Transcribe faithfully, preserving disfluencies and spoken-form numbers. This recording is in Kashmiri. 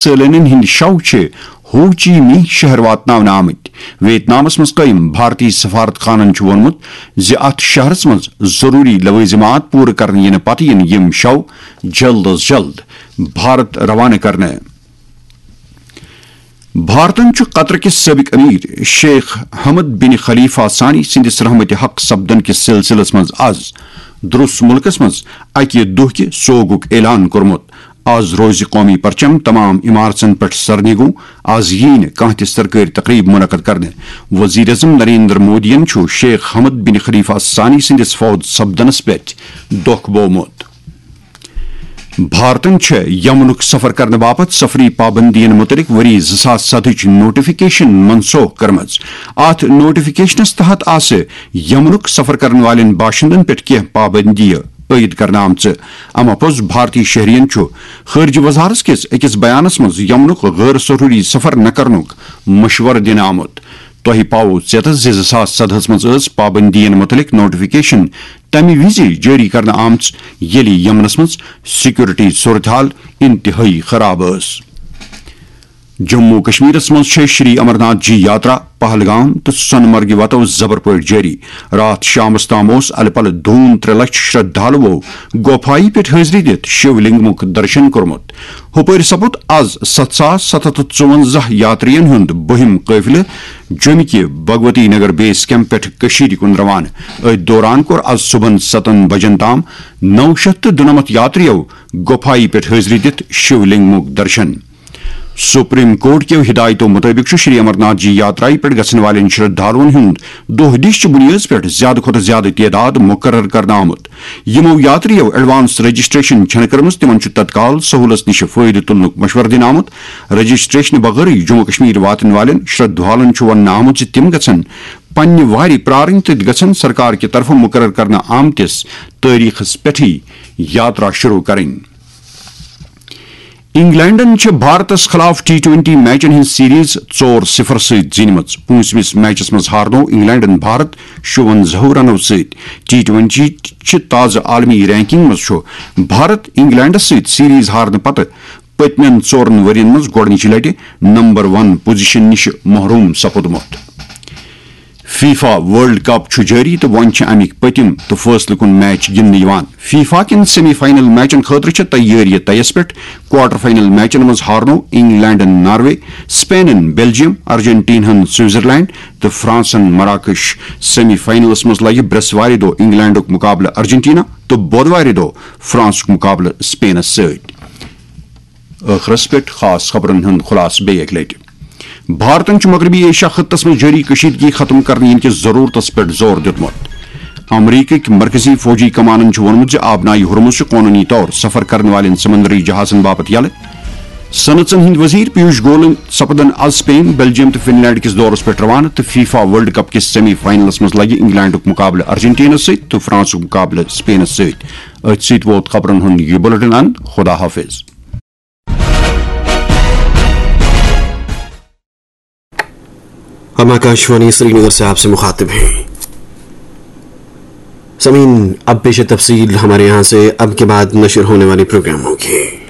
سٲلٲنین ہٕنٛدۍ شو چھِ ہو چی مینہ شہر واتناونہٕ آمٕتۍ۔ ویتنامس منٛز قٲیِم بھارتی سفارت خانن چھُ ووٚنمُت زِ اتھ شہرس منٛز ضروٗری لوٲزمات پوٗرٕ کرنہٕ یِنہٕ پتہٕ یِن یِم شو جلد از جلد بھارت روانہٕ کرنہٕ۔ بھارتن چھُ قطر کِس سٲبق امیر شیخ حمد بن خلیفہ ثانی سٕنٛدِس رحمت حق سپدن کِس سلسلس منٛز از درست مُلکس منٛز اکہِ دۄہکہِ سوگُک اعلان کوٚرمُت۔ از روزِ قومی پرچم تمام عمارژن پٮ۪ٹھ سرنگوں۔ از ییہِ نہٕ کانٛہہ تہِ سرکٲرۍ تقریب منعقد کرنہٕ۔ وزیر اعظم نریندر مودیَن چھُ شیخ حمد بن خلیفہ ثانی سٕنٛدِس فوت سپدنس پٮ۪ٹھ دۄکھ بوومُت۔ بھارتن چھےٚ یمنُک سفر کرنہٕ باپتھ سفری پابندین مُتعلق ؤری زٕ ساس سدہٕچ نوٹیفکیشن منسوخ کٔرمٕژ۔ اتھ نوٹیفکیشنس تحت آسہٕ یمنُک سفر کرن والٮ۪ن باشندن پٮ۪ٹھ کینٛہہ پابندیہِ عٲید کرنہٕ آمژٕ۔ امہ پوٚز بھارتی شہرین چھُ خارجہ وزارت کِس أکِس بیانس منٛز یمنُک غٲر ضروٗری سفر نہ کرنُک مشورٕ دِنہٕ آمُت۔ تۄہہِ پاوو ژیتس زِ زٕ ساس سدہس منٛز ٲس پابندین مُتعلق نوٹیفکیشن تمہِ وِزِ جٲری کرنہٕ آمٕژ، ییٚلہِ یمنس منٛز سیکورٹی صورتحال انتہٲئی خراب ٲس۔ جموں و کشمیرس منٛز چھےٚ شری امرناتھ جی یاترا پہلگام تہٕ سۄنہٕ مرگہِ وتو زبر پٲٹھۍ جٲری۔ راتھ شامس تام اوس الہٕ پلہٕ دوٗن ترٛےٚ لچھ شردھالوو گۄپھایہِ پٮ۪ٹھ حٲضری دِتھ شِو لنگمُک درشن کوٚرمُت۔ ہُپٲرۍ سپُد از ستھ ساس ستھ ہتھ تہٕ ژُونزہ یاترین ہُنٛد بٔہِم قٲفلہٕ جوٚمہِ کہِ بھگوتی نگر بیس کیمپ پٮ۪ٹھ کٔشیٖرِ کُن روانہٕ۔ أتھۍ دوران کوٚر از صُبحن ستن بجن تام نو شیتھ تہٕ دُنمتھ یاترِیو گۄپھایہِ پٮ۪ٹھ حٲضری دِتھ شِو لنگمُک درشن۔ سپریم کورٹ کیو ہدایتو مطٲبق چھُ شری امرناتھ جی یاترایہِ پٮ۪ٹھ گژھن والٮ۪ن شردھالوٗن ہُنٛد دۄہ دِش چہِ بُنیٲدس پٮ۪ٹھ زیادٕ کھۄتہٕ زیادٕ تعداد مُقرر کرنہٕ آمُت۔ یِمو یاترِیو ایڈوانس رجسٹریشن چھنہٕ کٔرمٕژ، تِمن چھُ تتکال سہوٗلس نِش فٲیدٕ تُلنُک مشورٕ دِنہٕ آمُت۔ رجسٹریشن بغٲرٕے جموں کشمیر واتن والٮ۪ن شردھالن چھُ وننہٕ آمُت زِ تِم گژھن پننہِ وارِ پرارٕنۍ تہٕ گژھن سرکار کہِ طرفہٕ مُقرر کرنہٕ آمتِس تٲریخس پٮ۪ٹھٕے یاترا شروع کرٕنۍ۔ انگلینڈن چھِ بھارتس خلاف ٹی ٹوینٹی میچن ہٕنٛز سیریز ژور صفر سۭتۍ زیٖنمٕژ۔ پوٗنٛژمِس میچس منٛز ہارنوو انگلینڈن بھارت شُونزاہو رنو سۭتۍ۔ ٹی ٹوینٹی چہِ تازٕ عالمی رینکنگ منٛز چھُ بھارت انگلینڈس سۭتۍ سیریز ہارنہٕ پتہٕ پٔتمٮ۪ن ژورن ؤرین منٛز گۄڈٕنِچہِ لٹہِ نمبر ون پوزیشن نِش محروم سپُدمُت۔ فیفا ورلڈ کپ چھُ جٲری تہٕ وۄنۍ چھِ اَمِکۍ پٔتِم تہٕ فٲصلہٕ کُن میچ گِنٛدنہٕ یِوان۔ فیفا کٮ۪ن سیمی فاینل میچن خٲطرٕ چھِ تیٲرِیہِ تیس پٮ۪ٹھ۔ کوارٹر فاینل میچن منٛز ہارنوو انگلینڈن ناروے، سپینن بیلجیم، ارجنٹیناہن سوئٹزرلینڈ تہٕ فرانسن مراکش۔ سیمی فاینلس منٛز لگہِ برٛٮ۪سوارِ دۄہ انگلینڈُک مقابلہٕ ارجنٹینا تہٕ بۄدوارِ دۄہ فرانسُک مقابلہٕ سپینس سۭتۍ۔ ٲخرس پٮ۪ٹھ خاص خبرن ہُنٛد خلاصہٕ بیٚیہِ اکہِ لٹہِ۔ بھارتن چھُ مغربی ایشیا خطس منٛز جٲری کشیدگی ختم کرنہٕ یِنہٕ کِس ضرورتس پٮ۪ٹھ زور دیُتمُت۔ امریکٕکۍ مرکزی فوجی کمانن چھُ ووٚنمُت زِ آبنائے ہرمز چھُ قونوٗنی طور سفر کرن والٮ۪ن سمندری جہازن باپتھ یلہٕ۔ صنعژن ہٕنٛدۍ وزیر پیوش گولن سپدن از سپین، بیلجیم تہٕ فن لینڈ کِس دورس پٮ۪ٹھ روانہٕ تہٕ فیفا ورلڈ کپ کِس سیمی فاینلس منٛز لگہِ انگلینڈُک مقابلہٕ ارجنٹینس سۭتۍ تہٕ فرانسُک مقابلہٕ سپینس سۭتۍ۔ أتھۍ سۭتۍ ووت خبرن ہُنٛد یہِ بُلٹن اند۔ خدا حافظ۔ ہم آکاشوانی سری نگر سے آپ سے مخاطب ہیں۔ سامعین، اب پیش تفصیل ہمارے یہاں سے اب کے بعد نشر ہونے والے پروگراموں کی۔